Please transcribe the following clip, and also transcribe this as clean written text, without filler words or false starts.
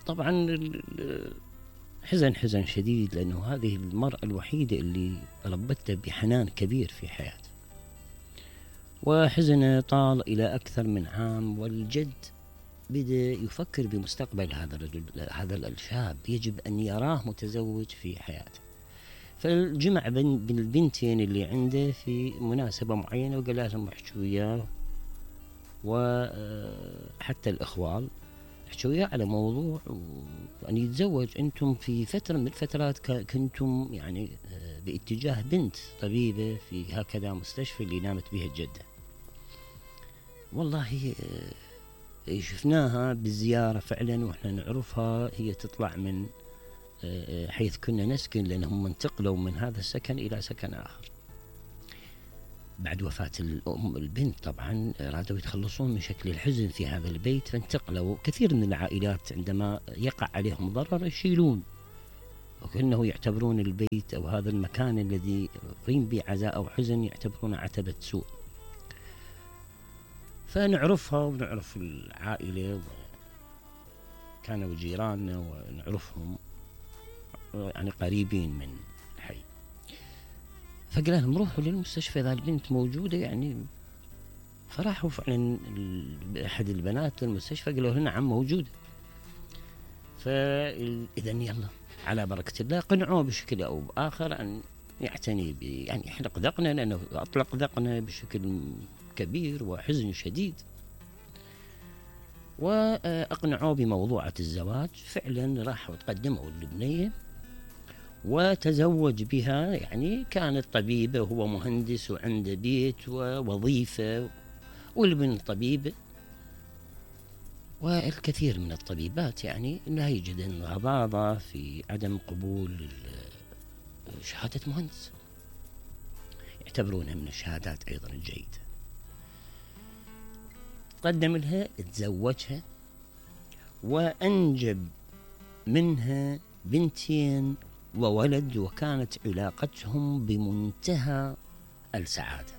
طبعا حزن شديد، لأنه هذه المرأة الوحيدة اللي ربتها بحنان كبير في حياته. وحزنه طال إلى أكثر من عام، والجد بدأ يفكر بمستقبل هذا الرجل، هذا الشاب يجب أن يراه متزوج في حياته. فالجمع بين البنتين اللي عنده في مناسبة معينة، وقال لهم احكوا وياه، وحتى الإخوال احكوا وياه على موضوع أن يتزوج. أنتم في فترة من الفترات كنتم يعني باتجاه بنت طبيبة في هكذا مستشفى اللي نامت بها الجدة. والله شفناها بالزيارة فعلا، وإحنا نعرفها، هي تطلع من حيث كنا نسكن، لأنهم انتقلوا من هذا السكن إلى سكن آخر بعد وفاة البنت. طبعا رادوا يتخلصون من شكل الحزن في هذا البيت، فانتقلوا. كثير من العائلات عندما يقع عليهم ضرر يشيلون، وكأنه يعتبرون البيت أو هذا المكان الذي قيم به عزاء أو حزن يعتبرونه عتبة سوء. فنعرفها ونعرف العائلة، كانوا جيراننا ونعرفهم، يعني قريبين من الحي. فقال لهم روحوا للمستشفى إذا البنت موجودة يعني. فراحوا فعلا أحد البنات للمستشفى، قالوا لنا نعم موجودة. فإذا يلا على بركة الله قنعوه بشكل أو بآخر أن يعتني يعني يحلق ذقنه، لأنه أطلق ذقنه بشكل كبير وحزن شديد. وأقنعوه بموضوعة الزواج. فعلا راحوا تقدموا للبنية وتزوج بها. يعني كانت طبيبة وهو مهندس وعنده بيت ووظيفة، والبنت طبيبة. والكثير من الطبيبات يعني لا يجدن غضاضة في عدم قبول شهادة مهندس، يعتبرونها من الشهادات أيضا الجيدة. قدم لها، تزوجها، وأنجب منها بنتين وولد، وكانت علاقتهم بمنتهى السعادة.